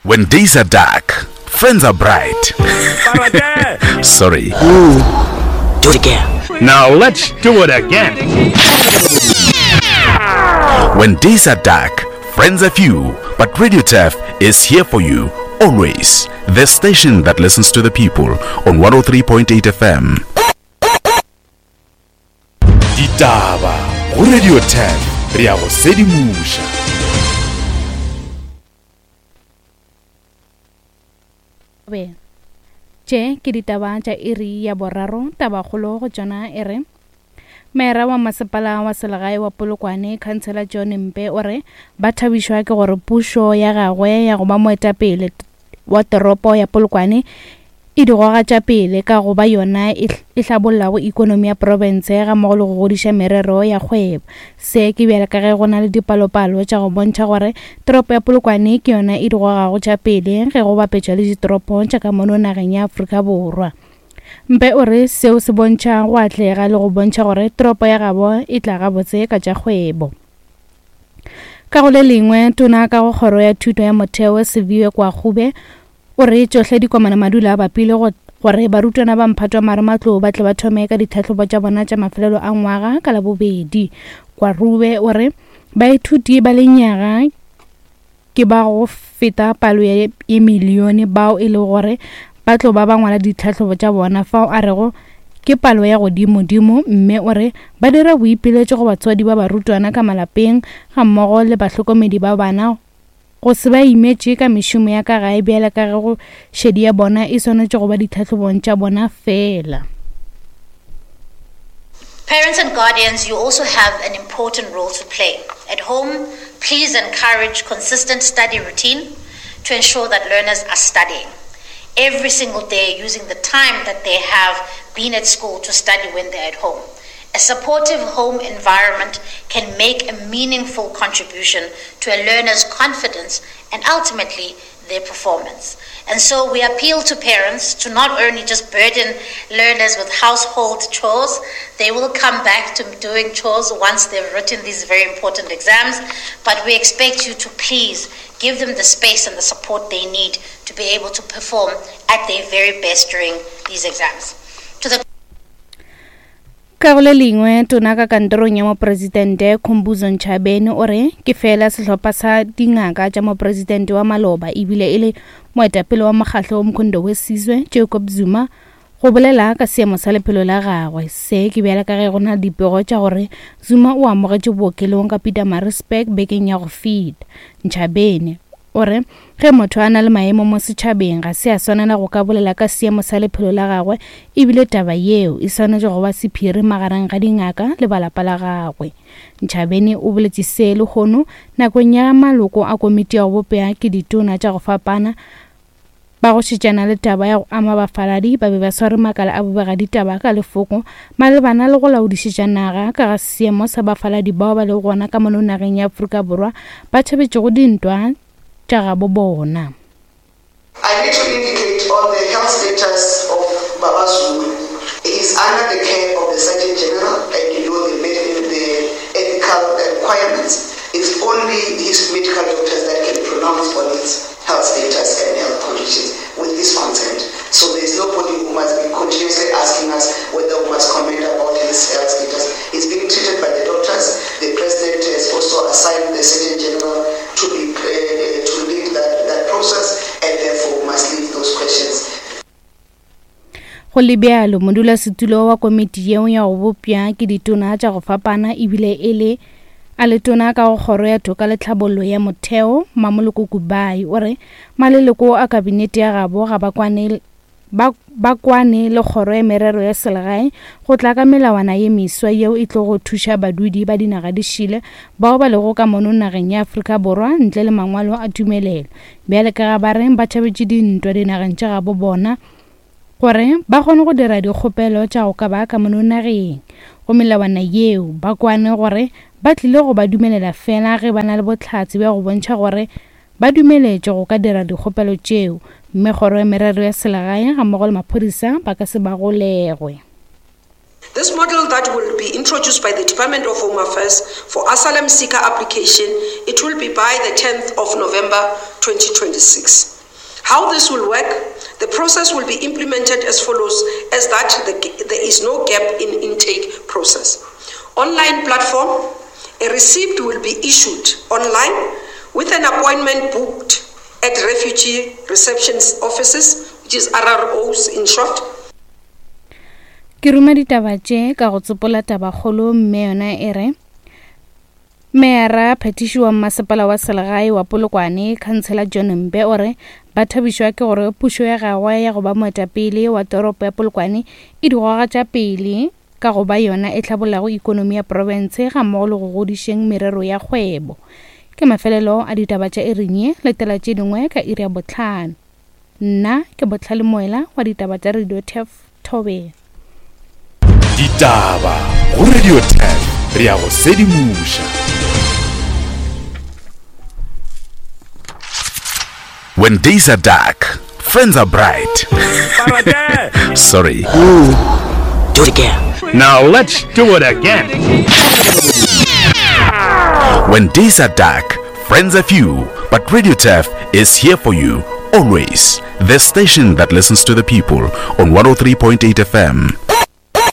When days are dark, friends are bright. Sorry. Do it again. Now let's do it again. When days are dark, friends are few, but Radio Turf is here for you always. The station that listens to the people on 103.8 FM. Ditaba go Radio 10 re a go sedimoša. Be. Tše ke ditaba tša iri ya boraro, tabakgolo go tšona e re Mera wa masepala wa selegae wa Polokwane, Khansela John Mpe o re ba thabišwa ke gore pušo ya gagwe ya go ba moetapele wa toropo ya Polokwane e di goga tša pele ka go ba yona e, e hlabollago ikonomi ya profense gammogo le go godiša merero ya kgwebo. Se ke bjale ka ge go na le dipalopalo tša go bontšha gore toropo ya Polokwane ke yona e di gogago tša pele ge go bapetšwa le ditoropo tša ka mono nageng ya Afrika Borwa. Mpe o re seo se bontšha go atlega le go bontšha gore toropo ya gabo e tla gabotse ka tša kgwebo. Ka go le lengwe, tona ka go kgoro ya thuto ya motheo Siviwe Gwarube O re tšohle di komana madula a bapile go gore barutwana ba mphato wa marematlou ba tle ba thome ka ditlhahlobo tša bona tša mafelelo a ngwaga ka Labobedi. Gwarube o re baithuti ba lenyaga ke ba go feta palo ye milione bao e lego gore ba tlo ba ba ngwala ditlhahlobo tša bona fao a rego ke palo ya godimodimo mme o re ba dira boipiletšo go batswadi ba barutwana ka malapeng gammogo le bahlokomedi ba bana go se ba imetše ka mešomo ya ka gae bjale ka ge go šedi ya bona e swanetše go ba ditlhahlobong tša bona feela. Parents and guardians, you also have an important role to play. At home, please encourage consistent study routine to ensure that learners are studying every single day using the time that they have been at school to study when they're at home. A supportive home environment can make a meaningful contribution to a learner's confidence and ultimately their performance. And so we appeal to parents to not only just burden learners with household chores, they will come back to doing chores once they've written these very important exams, but we expect you to please give them the space and the support they need to be able to perform at their very best during these exams. To the Ka go le lengwe, tona ka kantorong ya mopresidente Khumbudzo Ntshavheni o re ke feela sehlopha sa dingaka tša mopresidente wa maloba ebile e le moetapele wa mokgahlo wa Umkhonto we Sizwe Jacob Zuma go bolela ka seemo sa lephelo la gagwe. Se ke bjale ka ge go na le dipego tša gore Zuma o amogetše bookelong ka Pietermaritzburg bekeng ya go feta. Ntshavheni O re, Ge motho a na le maemo mo setšhabeng, ga se a swanela go ka bolela ka seemo sa lephelo la gagwe e bile taba yeo e swanetše go ba sephiri magareng ga dingaka le ba lapa la gagwe. Ntshavheni o boletše se lehono nakong ya maloko a komiti ya go bopša ke ditona tša go fapana ba go šetšana le taba ya go ama bafaladi ba be ba sware makala a bobegaditaba ka lefoko malebana le go laodišetša naga ka ga seemo sa bafaladi bao ba lego gona ka mono nageng ya Afrika Borwa ba tšhabetšego dintwa tša gabo bona. I need to indicate on the health status of Baba Zuma. He is under the care of the Surgeon General and you know the, the ethical requirements. It's only his medical doctors that can pronounce on his health status and health conditions with his consent. So there is nobody who must be continuously asking us whether we must comment about his health status. He's being treated by the doctors. The president has also assigned the Surgeon General to be uh, to lead that, that process and therefore we must leave those questions. Go le bjalo, modulasetulo wa komiti yeo ya go bopša ke ditona tša go fapana ebile e le a le tona ka go kgoro ya toka le tlhabollo ya motheo Mmamoloko Kubayi o re maleloko a kabinete ya gabo ga ba kwane ba, ba kwane le kgoro ya merero ya selegae go tla ka melawana ye meswa yeo e tlogo thuša badudi ba dinaga di šile bao ba lego ka mono nageng ya Afrika Borwa ntle le mangwalo a tumelelo bjale ka ga ba reng ba tšhabetše dintwa dinageng tša gabo bona gore ba kgone go dira dikgopelo tša go ka ba ka mono nageng. Go melawana yeo, ba kwane gore ba tlile go ba dumelela fela ge ba na le bohlatse bja go bontšha gore ba dumeletšwe go ka dira dikgopelo tšeo, mme Kgoro ya Merero ya Selegae gammogo le maphodisa ba ka se ba golegwe. This model that will be introduced by the Department of Home Affairs for asylum seeker application, it will be by the 10th of November 2026. How this will work, the process will be implemented as follows as that the, there is no gap in intake process. Online platform, a receipt will be issued online with an appointment booked at refugee reception offices, which is RROs in short. Ke ruma ditaba tše ka go tsopola tabakgolo mme yona e re Meyara phethiši wa mmasepala wa selegae wa Polokwane, Khansela John Mpe o re ba thabišwa ke gore pušo ya gagwe ya go ba moetapele wa toropo ya Polokwane e di goga tša pele ka go ba yona e hlabollago ikonomi ya profense gammogo le go godišeng merero ya kgwebo. Ke mafelelo a ditaba tša iring ye, letela tše dingwe ka iri ya bohlano. Nna ke Bohlale Moela wa ditaba tša Radio Turf Thobela. Ditaba go Radio Turf re a go sedimoša. When days are dark, friends are bright. Sorry. Do it again. Now let's do it again. When days are dark, friends are few, but Radio Turf is here for you always. The station that listens to the people on 103.8 FM.